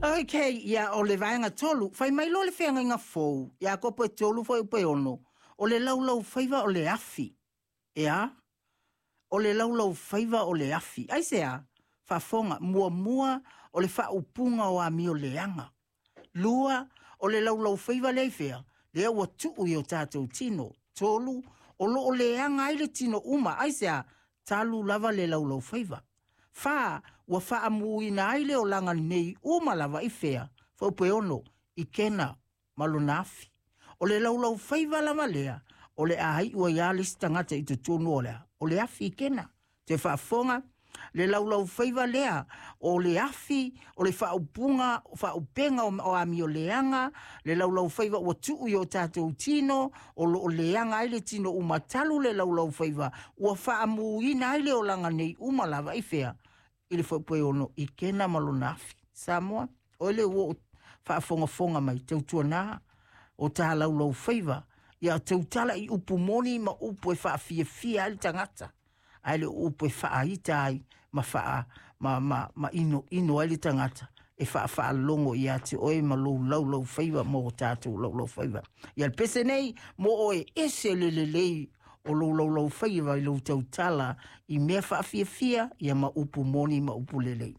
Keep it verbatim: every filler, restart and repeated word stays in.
Okay, ia o le vaega tolu, fai mai loa le feagaiga fou, Iakopo e tolu fuaiupu e ono, o le laulaufaiva o le afi. Ea? O le laulaufaiva o le afi. Aisea? Faafofoga, muamua o le faaupuga o amio leaga. Lua, o le laulaufaiva lea i fea? Lea ua tuu i o tatou tino. Tolu, o loo leaga ai le tino uma. Aisea? Talu lava le laulaufaiva. Fa, ua faamuina ai le olaga nei uma lava i fea? Fuaiupu e ono, i kena ma lona afi. O le laulaufaiva lava lea, o le a iu ai lava le isi tagata i totonu o le a? O le afi i kena. Toe faafofoga, le laulaufaiva lea, o le afi, o le faaupuga, faaupega o amio leaga, le laulaufaiva ua tuu i o tatou tino, o loo leaga ai le tino uma talu le laulaufaiva, ua faamuina ai le olaga nei uma lava i fea? I le fuaiupu e ono, i kena ma lona afi. Samoa, o le ua faafogafoga mai, tautuana, o tā laulaufaiva, ia tautala i upu moni ma upu e faafiafia ai le tagata, ae le upu e faaita ai ma faa ma ma ma ino ino ai le tagata e faafaalogo ia te oe ma lou laulaufaiva mo o tatou laulaufaiva. Ia le pese nei mo oe ese le lelei o lou laulaufaiva i lou tautala i mea faafiafia ia ma upu moni ma upu lelei.